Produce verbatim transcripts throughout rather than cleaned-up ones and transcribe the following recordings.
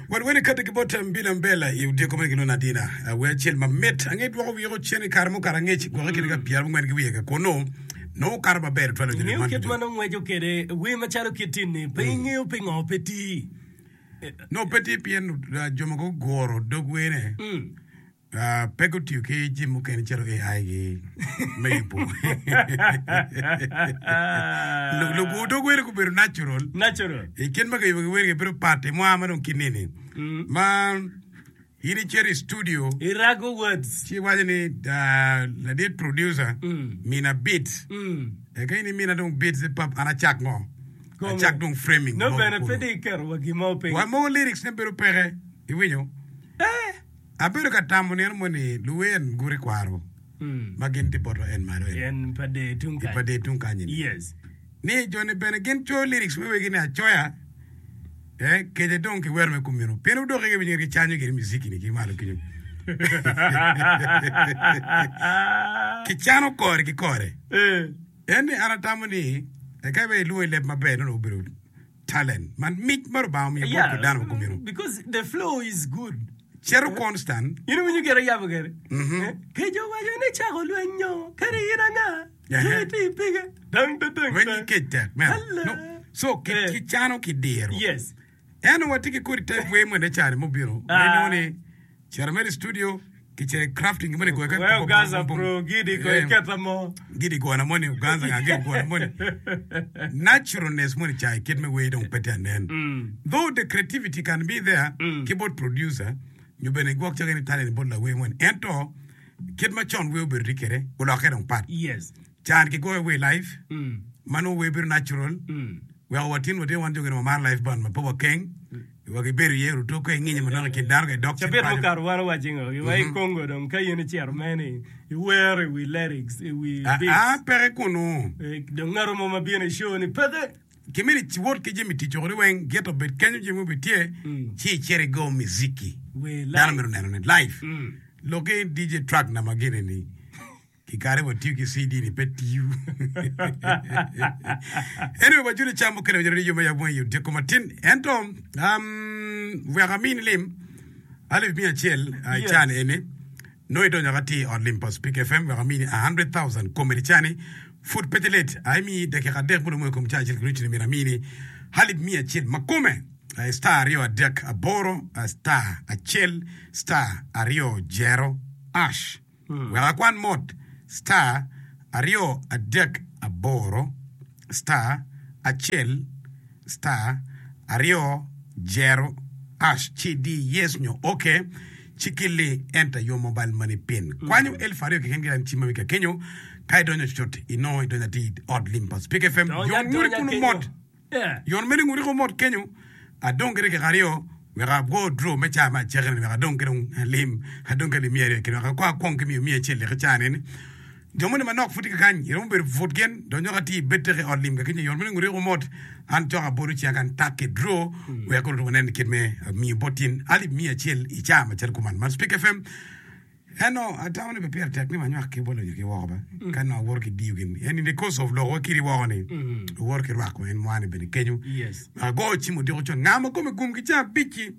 Wan wene kati ki bot Mbila Mbela i odiko moni gilwongo ni Adina. Wer acel mamit ange dwoko wiko cen i kare mukato angec gwoke kine ka pyerabongwen ki wiye ka kunu nongo okato maber tutwal onyo Ingeyo man kit ducu. ma nongo ngweco kwede wer macalo kit-ti-ni, pe ingeyo pingo pe tii. Nongo pe tye pien uh, jo ma guguro dog werne Mm. uh, pe gutiyo ki jami mukene calo A I gi me yubo. Lu- Lugur dog werne gubedo natural. Natural. I kit ma kiyubo ki wergi bedo pat i mwaka ma dong ki nini. Mm. Ma in icito i studio Irago words. ci iwaco ni uh, ladit producer Mm. mina beat Mm. eka in imina dong beat ci pap an acak ngo Kome. acak dong framing No mogo bene pe kunu. di iketo wa gin mo piny. Wa mogo lyrics ne bedo peke iwinyo Eh. abedo ka tamo nino moni luwer guti kwaro Mm. ma gin tye bot en malo en En pa de tung i kany. pa de tung kany ni Yes. ni joni bene gin coyo lyrics me wegi ni acoya eh kece dong ki wero me kumino pien udoki ki winyo gicanyo gini muziki ni ki malo kenyo kicano kore ki kore Eh. en ni an atamo ni eka be ilwongo i leb maber nono obedo talent man mic ma Rubanga omiyo bot Yeah, ki dano ma kumino because the flow is good. cito constant In iwinyo gire yabo gire. Mhm. Eh, Kejo waco ni cako lweny nyo kadi in anga. Ehe. Ti ti pige. Dang dang dang. lweny ki kec tek meno Hello. no so ki, Eh. kicano ki diro Yes. en watye ki kodi type wer mwene cani mubino Ah. ma inongo ni cito mere i studio kicito i crafting moni goyo We Ogaza bro gidi ko iketa mo. gidi gona moni Uganza nga gidi gona moni naturalness moni ca i kit me wer dong pe tye anen Mm. though the creativity can be there Mm. ki bot producer nyo bene gwok cake ni talent bot lawer moni ento kit ma con wer obedo tye kwede olokke dong pat Yes. can ki goyo wer live Mm. ma nongo wer bedo natural Mm. weko watin watin wan jo gini wamaro live band ma pe wakeng wa gibedo iye ruto ka ing'inyo manok i kin dano ka idok cen Cabit paco mukato wan owaco ngo wa i Congo dong ka in icito meni iwero i wi lyrics i wi Ah, beats ah, peke kunu Eh, dong ngato mo ma bino i show ni peke kimito iwot ki jami tic okoni weng gito obed kenyo jami obed tye Mm. ci icito igo muziki wer dano live mito neno ni live Mm. loki D J track na magene ni ki kare watiyo ki C D ni pe tiyo. Anyway, wajulo cam mukene wajalo ni yo me yabo i odiko matin ento um, wek amini lim alip miya acel uh, Yes. cani eni nongo idonyo ka tye i ot lim pa Speak F M wek amini a hundred thousand komedi cani pud pe tye late aimiyi dakika adek muromo i kom ca acel ki nucu ni myero amini alip miya acel ma kome uh, star aryo adek aboro uh, star acel star aryo jero ash wek akwan mot star aryo adek aboro star acel star aryo jero ash ci di yes nyo okay ci kili enter your mobile money pin kwanyo elfu aryo keken ki cim ma ka kenyo ka idonyo cut inongo idonyo ati i ot lim pa Speak F M Donya yon nguri donya kunu kenyo. mot Yeah. yon mene nguri ko mot kenyo adong kede kek aryo wek ago draw me ca ma acekene wek adong kede lim adong kede miya aryo kede wek akwa akwong ki miyo miya acel leke ca neni jo moni manok pud tye ka kany iromo bedo pud gin donyo ka tye i bed teke i ot lim ka kenyo yon mene nguri ko mot an cok abolo cinga kan tak ki draw wek koro wanen kit me miyo bot tin alip miya acel i ca macalo kuman man Speak F M eno atamo ni pe pire tek ni wanywak ki bolo nyo ki woko ba ka nongo awoto ki diyo gin en in the course of lok wa kidi woko ni owoto ki rwako en mwane bene kenyo Yes. ago cim odiko con nga ma kome gum ki ca abic-ci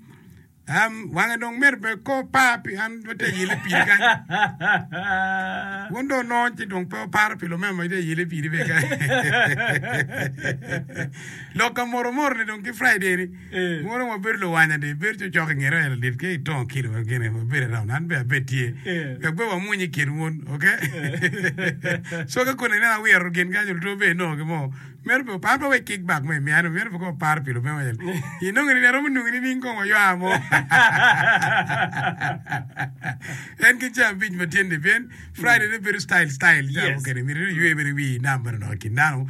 um, wange dong myero be ko par pi an wate yele piri kany wun dong nongo ci dong pe oparo pi lumema ma ite yele piri be kany lok ka moro moro ni dong ki Friday ni Eh. moro wabedo luwanya di bedo cocok i ngete wa ladit ke itongo kilo wa gine wabedo around an be abed tye Eh. wek be wamuny i kin wun okay so ka kone ineno awiro gin kany luto be inongo ki mo myero pe an pe wek kick back mo imiyano myero pe ko oparo pi lumema el inongo ni aromo nongo ni ning kong waywa mo en ki ca abic ma tye ni pien Friday ne bedo style style ca Yes. mukene myero iywe bene wi nam bene dok i kin dano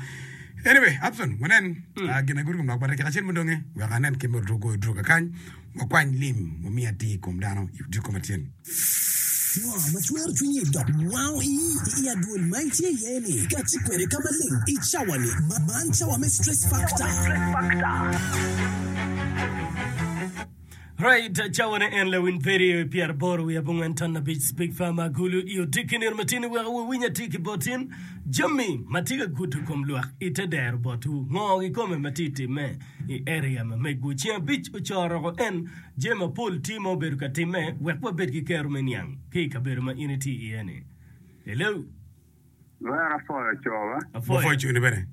anyway Abson wanen ah, gin aguru kom lok pa dakika acel mudonge wek anen kit ma ruto goyo duro kakany wakwany lim wamiyo atir i kom dano i odiko matyen Ngo ma cwero cwinyi dok wango ii i adwol ma itye iye ni kati kwede ka maleng i cawa-ni ma man cawa me stress factor. Right, cawa ne en lawiny perio i pyeraboro wiye abongwen ton abic Speak Farm Agulu i odiki nino matini wek wawiny atir ki botin Jami ma tye ka gudo kom lwak i te dero botwu, ngo kikome ma tye i timme i area ma megwu? Ceng abic ocoroko en jami mapol tye ma obedo ka timme wek wabed ki kero me niang ki i kabedo ma in itye iye ni. Hello. Lwero apwoyo coba. Apwoyo. Wapwoyo coni bene.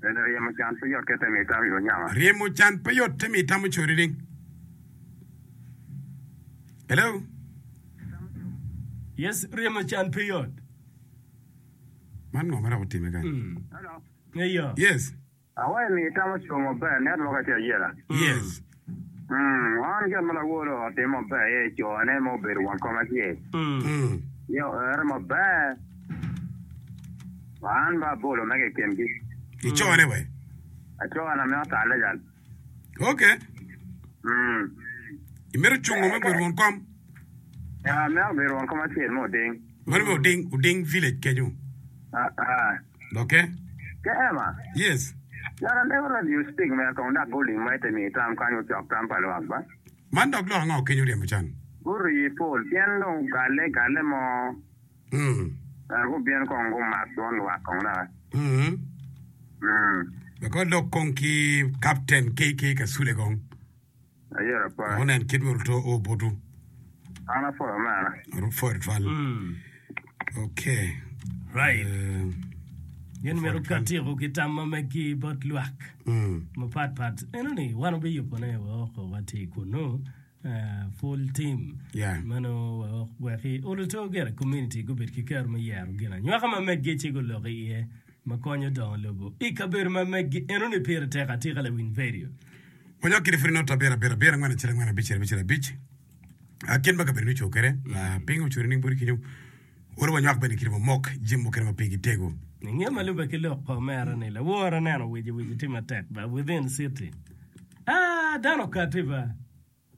Bene ryemo can pe yot kite mi tam i onyama. Ryemo can pe yot te mi tam ocori ding. Hello. Yes, ryemo can pe yot. Man ngo ma dok otime kany? Hello. Eyo. Yes. Awayo mi tam oco maber network tye ayela. Yes. Mm, wan gin ma lawolo otimo maber aye cone ma obedo won kom acel. Mm. Ye oere maber. Wan ba abolo mege i kingi. Icone we. Acona me otale jal. Okay. Mm. Imito cungo me bedo won kom? Ya, me obedo won kom acel mo oding. Mano me oding, oding village kenyo. Ah, ah. Okay. Ke Emma. Yes. Yara never let you speak me kong dak guling ma ite mi tam kanyo cok tam pa lwak ba. Man dok lok ango kenyo ryemo can? Guru yi pol pien dong gale gale mo. Mm. Er gubien kong gumak dwon lwak kong dok. Mm. Mm. Wek olok kong ki Captain KK Kasule kong. Ayera pa. Wek onen kit myero oto o botu. An apwoyo mera. Apwoyo tutwal. Okay. Right. Eh, Gin myero katyeko ki tam ma meggi bot lwak mm. mapat pat. Eno ni wan obiyubone woko watye kunu eh, full team. Yeah. Mano wek weki oluto gire community gubed ki kero me yero gin anywaka ma meggi ci guloko iye ma konyo dongo lobo. I kabedo ma meggi eno ni pire tek atika lawiny video. Wanywak kede pud not abiro abiro abiro angwen acel angwen abic abicel abic. Ah, Kit ma kabedo ni oco kede. Ah, Piny ocuri ning boti kenyo. Oro wanywak bene kede wamok jami mukene ma pigi tego. Inge ma lube ki lok pa omera ni lawor aneno wici wici tye matek ba within city. Ah, dano okati ba.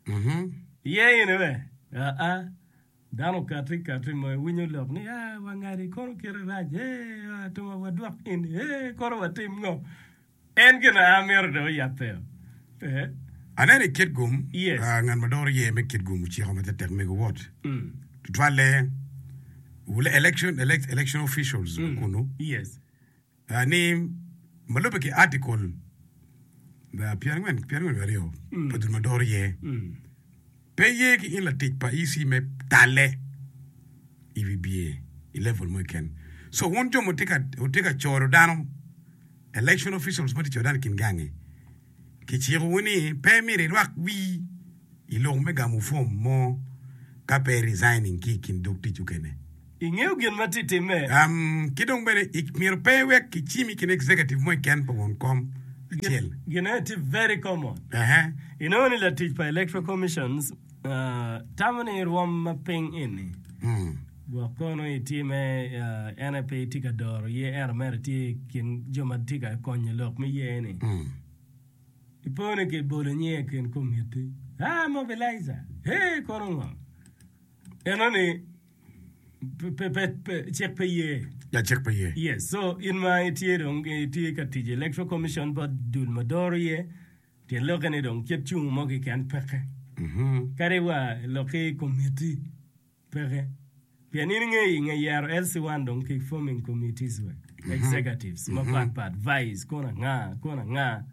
Mhm. Iye in we. Ah ah. Dano okati kati ma iwinyo lok ni ah wangadi kono kite rac. Eh, ah, tuma wadwok in. Eh, kono watim ngo. En gin a myero dong oyabbe. Eh. Aneno i Kitgum, Yes. ah, ngat ma doro ye me Kitgum ociko ma tetek mego wot. Mm. Tutwalle wule election, elect, election officials mm. kunu. Yes. Ah, ni ma lubbe ki article ah, pyerangwen pyerangwen wiye aryo Mm. pa dul ma doro ye. Mm. Pe ye ki in latic pa EC me talle i wi bye i level mo keken. So wun jo ma wutye ka wutye ka coro dano election officials ma tye ka coro dano i kin gangi kicikowu ni pe myero irwak wii i lok me gamo form mo ka pe resigning ki i kin dog tic okene. Ingeyo gin ma tye timme. Um, ki dong bene i- myero pe iwek kicimi i kin executive mo keken pa won kom acel. Gin aye tye very common. Ehe. Inongo ni latic pa Electoral Commissions uh, tamo ni rwom ma piny eni Mm. gwok kono itye me uh, en aye pe itye ka doro ye ento mere tye i kin jo ma tye ka konyo lok me ye ni. Mm. Ipo ni kibolo nyinge i kin komiti. Ah, mobilizer. Hey, kono ngo? Eno ni pe, pe, pe, pe, cik pe ye. Ja cik pe ye. Yes, so in ma itye dong itye ka tic i Electoral Commission bot dul ma doro ye, tyen lokke ni dong kit cungo mo keken peke. Mhm. Kadi wa lokki komiti peke. Pien in ingeyo i nge yero LC one dong ki forming committees we, executives mapat pat, vice, kono anga, kono anga.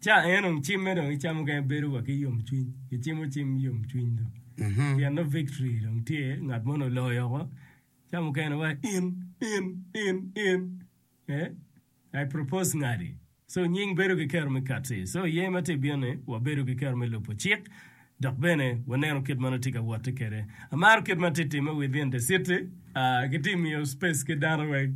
Ca en dong cimme dong icamo kene bedo wa ki yomcwiny, kicimo cim yomcwiny dong. Mhm. Pien no victory dong tye, ngat moni oloyo oko. Ca mukene wa in, in, in, in. Eh? I propose ngadi. So nying bedo ki kero me kati. So ye ma tye bino ni wabedo ki kero me lubo cik dok bene waneno kit ma nongo tye ka wotte kwede. Amaro kit ma tye timme within the city. Uh, gitye miyo space ki dano wek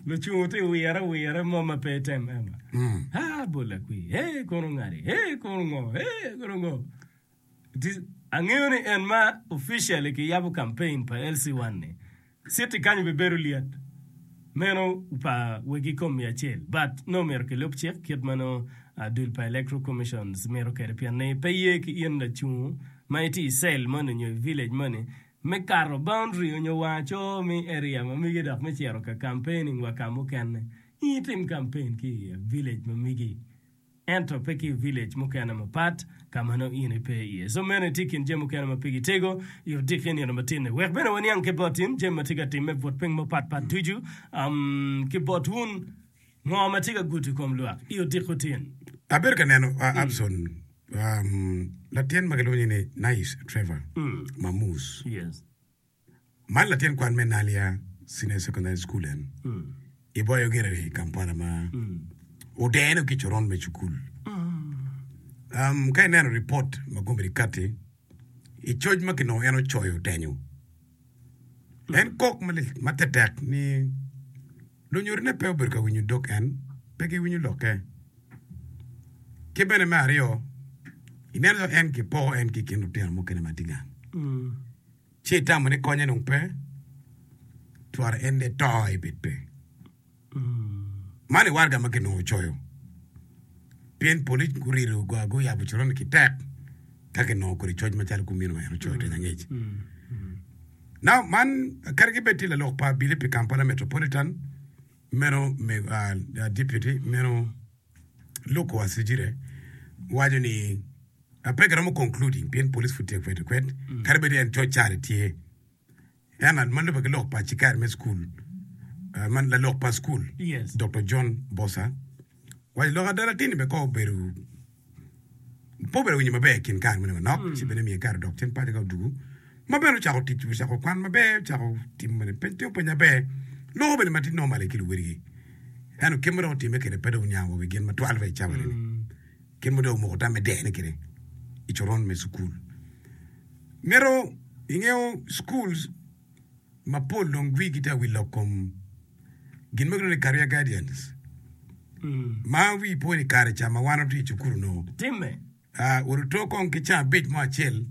lucungo tye wire wire mo ma pe item ema. Mm. Ah, bola kwi. Hey, kono ngadi. Hey, kono ngo. Hey, kono ngo. Ti- Angeyo ni en ma officially kiyabo campaign pa LC one ni. City kanyo bibedo lyet. Meno pa wegi kom miya acel. But no myero kilub cik kit ma no uh, dul pa Electoral Commissions mito kwede pien ni pe ye ki in lacungo ma itye i cell moni nyo i village moni me kato boundary onyo wang aco mi area ma migi dok me cito ka campaigning wa ka mukene. In itim campaign ki i village ma migi. Ento pe ki i village mukene mapat ka ma nongo in ipe iye. So meno tye i kin jami mukene ma pigi tego i odiki nino matin-ni. Wek bene waniang ki bot in jami ma tye ka timme but piny mapat pat ducu um, ki bot wun ngo ma tye ka gudo i kom lwak i odiko tin. Abedo ka neno uh, Abson um, latin ma kilwongo ni Nice Trevor Mm. Mamus. Yes. Man latin kwan me Nalia Senior Secondary School en Mm. i boyo gire i Kampala ma Mm. odene ki coron me cukul. Um, ka ineno report ma gombe kati i coc ma kinongo en ocoyo otenyo. En kok malik ma tetek ni lunyodone pe obedo ka winyo dog en, pe giwinyo lokke. Ki bene me aryo, ineno calo en kipoko en ki i kin lutino mukene ma tye gang. Mm. Ci itamo ni konye dong pe, twara en de to ibed pe. Man i waraga ma kinongo ocoyo. Pien polic gurido gua guyabo coron ki tek ka kinongo kodi coc macalo kumeno ma en ocoyo teny angec. Now man kadi gibed tye lalok pa abili pi Kampala Metropolitan meno me, uh, deputy meno Luke Owoyesigyire waco ni uh, pe giromo concluding pien police pud tye kwede kwed kadi bed en coc care tye en ma lubbe ki lok pa cikari me school uh, man lalok pa school Yes. Dr. John Bosa waco lok ada latin-ni bene ko obedo pe obedo winyo maber i kin kare moni manok ci bene miye kare odok cen paco ka odugu ma bene ocako tic ocako kwan maber ocako timo bene peny timo peny maber loko bene ma tye normal ki luwedigi ento kit ma dok otime kwede pe dong oniang wa wi gin matwal wa i cawa ni kit ma dong omoko tamme dene kwede i coron me cukul mito ingeyo schools mapol dong wigi tye awil lok kom gin ma kilwongo ni career guidance Mm. ma wi po ni kare ca ma wan watye i cukul onongo Timme. uh, oruto kong ki ca abic mo acel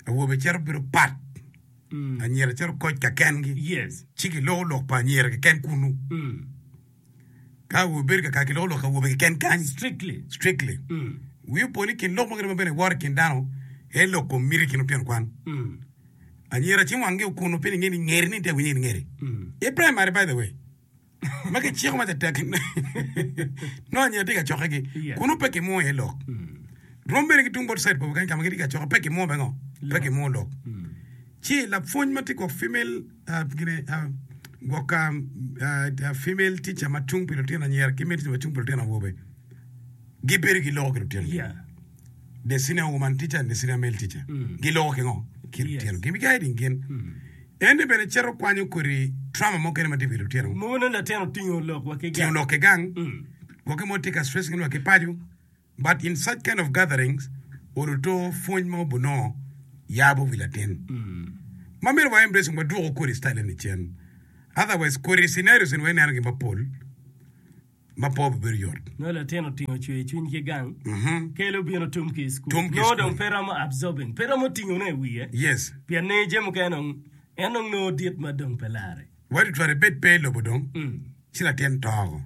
awobe cito bedo pat Mm. anyira cito koc ka kengi Yes. ci giloko lok pa anyira keken kunu Mm. ka awobe bedo kaka giloko lok awobe keken kany Strictly. strictly Mm. wi opo ni kin lok mukene ma bene woro i kin dano en lok kom miti i kin lutino kwan Mm. anyira ci wanggi okunu pien inge ni ngeri ni tye winyo ni ngeri Mm. i primary by the way ma kiciko ma tetek no anyira tye ka cokkegi Yeah. kunu pe kimwo iye lok Mm. rom bene ki tung bot side pa kany ka ma gitye ka cokke pe kimwo bene ngo pe Lok. kimwo lok Mm. ci lapwony ma tye gwok female uh, gine, uh, gwok um, uh, uh, female teacher ma tung pi lutino anyira ki male teacher ma tung pi lutino awobe gibedo giloko ki lutino Yeah. the senior woman teacher and the senior male teacher Mm. giloko ki ngo ki Yes. lutino gin guiding gin Mm. en bene cito kwanyo kodi trauma mukene ma tye wi lutino Mono latin otingo lok wa ki tingo gang. lok ki gang Mm. gwokke mo tye ka stressing wa ki paco but in such kind of gatherings oruto pwony mo bunongo yabo wi latin Mm. ma myero wa embrace wadwoko kodi style ni cen otherwise kodi scenarios ni waneno gi mapol ma pe obibedo yot No latin otingo cwer cwiny ki gang. Mhm. Kelo bino tum ki i school. Tum ki i No school. dong pe romo absorbing. Pe romo tingo ne i wiye. yes Pien ni jami mukene dong en dong nongo dit ma dong pe lare. wadi twero ibed pe i lobo dong Mm. ci latin toko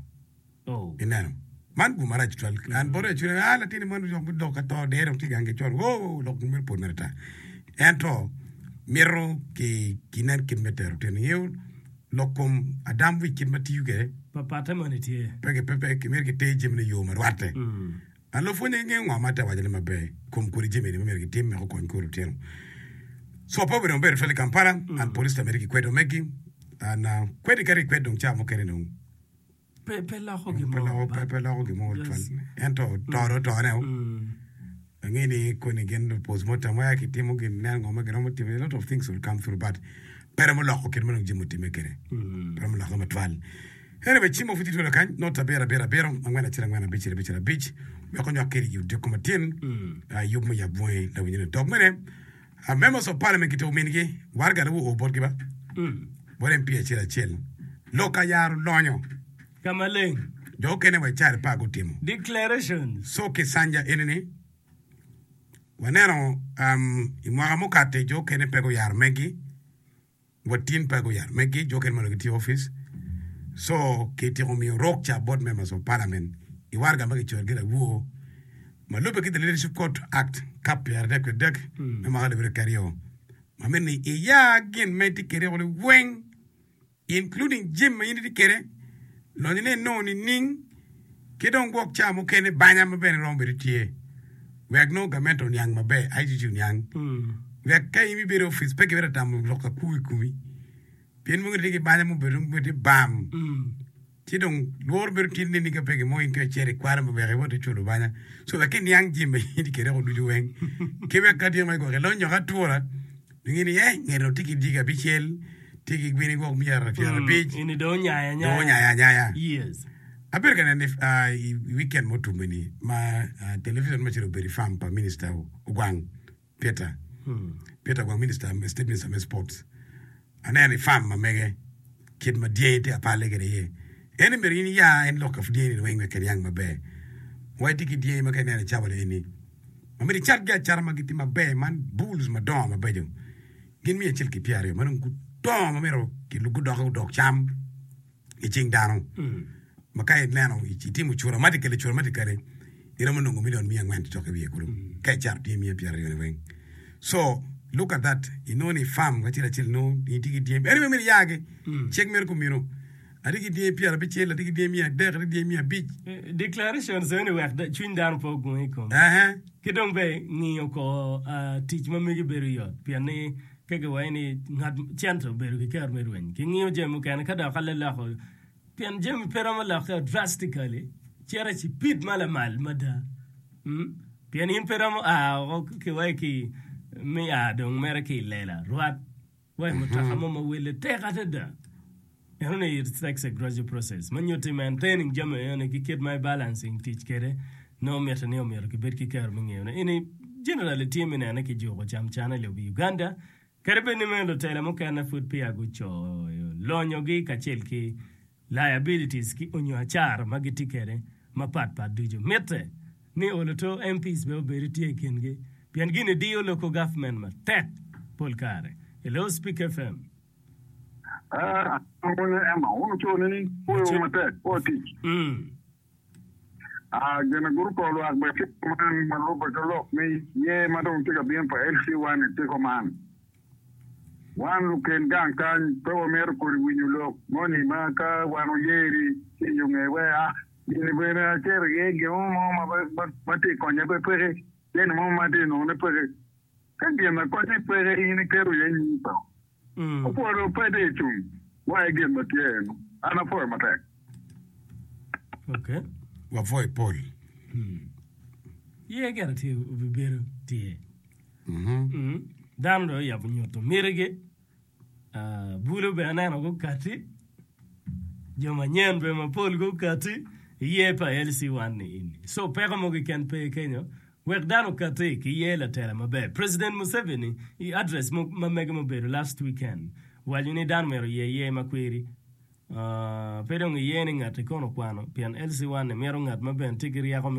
Oh. ineno man gum marac twal an bote acwiny ah latin man dok dok ka to dere dong tye gang ki col wo lok myero pol mere ta ento mito ki kinen kit me tero tino ingeyo lok kom adam wic kit ma tiyo kwede Papatte moni tye. pe ki- pe pe myero giter jamine i yo ma rwatte Mm. an lupwonye gingeyo ngo ma te wacone maber kom kodi jami ni ma myero gitim wek okony kor lutino so pe obedo maber tutwal i Kampala an police ta mere kikwedo megi an uh, kwedi kadi ikwed dong ca mukene dong Pe pe loko pe gin mo. loko pe pe loko gin mo tutwal Yes. ento to do tone o Mm. ange ni koni gin postmortem waya kitimo gin neno ngo ma giromo timo a lot of things will come through but pe romo loko kit ma dong jami otime kwede Mm. pe romo loko matwal anyway cimo pud itwelo kany not abiro abiro abiro angwen acel angwen abic abic abic wek onywak kedi i odiko matin Mm. uh, yub me yab bwonge lawinyo dok mene uh, members of parliament kitiko mingi warga wo o botgi ba Mm. bot MP acel acel lok ayaro lonyo Ka maleng. jo okene wa i care pa gutimo Declarations. so kisanja enini waneno um, i mwaka mukate jo okene pe guyaro megi watin pe guyaro megi jo okene mono gitye i office so kitiko miyo rok ca bot members of parliament i warga ma kicoyo gin awuo ma lubbe ki the leadership code act kap pyera adek wiye adek me mwaka alip aryo ki aryo ma mito ni iya gin ma itye kede woko liweng including jami ma in itye kede lonyo ne inongo nining Ki dong gwok ca mukene banya ma bene romo bedo tye wek nongo gamente oniang maber, I G G oniang. Wek ka in ibedo i opic pe kibedo tamo lok akwo i komi. Pien mogo tye ki banya mubedo tye bam. Ci dong lworo bedo tye ni ka pe gimo in ka icito ikwano ma wek iwot iculo banya. So wek iniang jami ma in itye kwede ducu weng. Ki wek ka tye ma gwok ilonyo ka atura, inge ni eh nget dong tye ki dyegi abicel, tye ki gwini gwok miya pyerabic. Eni dong onyayo Dong anyaya. onyayo anyaya. Yes. Abedo ka neno i weekend mutum ni ma television macalo obedo i farm pa minister Ogwang Peter. Peter Ogwang minister, state minister me sports. Aneno i farm ma mege kit ma dyangi tye apale kwede iye. En myero in iya en lok ka dyangi ni weng wek kiniang maber. Wa itye ki dyangi ma ka ineno i cawa eni ma myero icatgi acata ma gitye maber man bulls madongo mabeco. Gin miya acel ki pyeraryo ma dong gudongo ma myero gudok gudok cam i cing dano. Ma ka ineno itimo cura automatically iromo nongo million miya angwen cok i wiye kulu ka icato tye miya pyeraryo ni weng. So look at that, inongo ni farm acel acel nongo in itye ki dyangi anyway myero iyagi cik mere kumeno atye ki dyangi pyerabicel, atye ki dyangi miya adek, atye ki dyangi miya abic. Declarations eni wek cwiny dano pe ogung i kome. Ehe. Ki dong be ngiyo ko tic ma megi bedo yot pien ni ka giwaco ni ngat cente obedo ki kero me rweny ki ngiyo jami mukene ka dok aleloko pien jami pe romo lokke drastically cito i cipid ma lamal mada pien in pe romo a oko ki wai ki me a dong mere ki i lela rwat wai mutoka mo ma wele tek adada eno ni it takes a gradual process ma nyutti maintaining jami eno ki kit ma balancing tic kwede nongo mitte ni omyero kibed ki kero me ngeyone eni generally tye me nene ki juko cam cana i lobo Uganda kadi bed ni meno lutela mukene pud peya gucoyo lonyogi kacel ki liabilities ki onyo acara ma gitye kwede mapat pat ducu mitte ni oloto M Ps bene obedo tye i kingi pien gini diyo local government matek pol kare. Hello, Speak F M. Ah, Emma, unu cone ni koyo matek ko tic. Mm. Ah, gina guru ko lwak be tye man ma lubbe ki lok ni ye ma dong tye ka bino pa L C one tye ko man. Wan luken gang kany pe wamito kodi winyo lok moni ma ka wan oyeri ci yo nge we ah gini bene acito iye gin mo ma ma tye konye pe peke gin mo ma tye nongone peke ka gin na konye peke in iketo iye nyingi to Mm. opwodo pe tye icung wa i gin ma tye eno an apwoyo matek. Okay. Wapwoyo pol. Ye gire tye obibedo tye. Mhm. Mm. Dano dong oyabo nyuto mitigi. Ah, bulo bene aneno gukati. Jo manyen bene mapol gukati. Iye pa L C one ni ini. So peko mo keken pe kenyo. Wek dano okati ki ye latela maber. President Museveni i address mo ma mege mubedo last weekend. Waco ni dano myero ye ye makwiri. Uh, pe dong iye ni ngati kono kwano pien L C one ni mito ngat ma bene tye ki ryeko.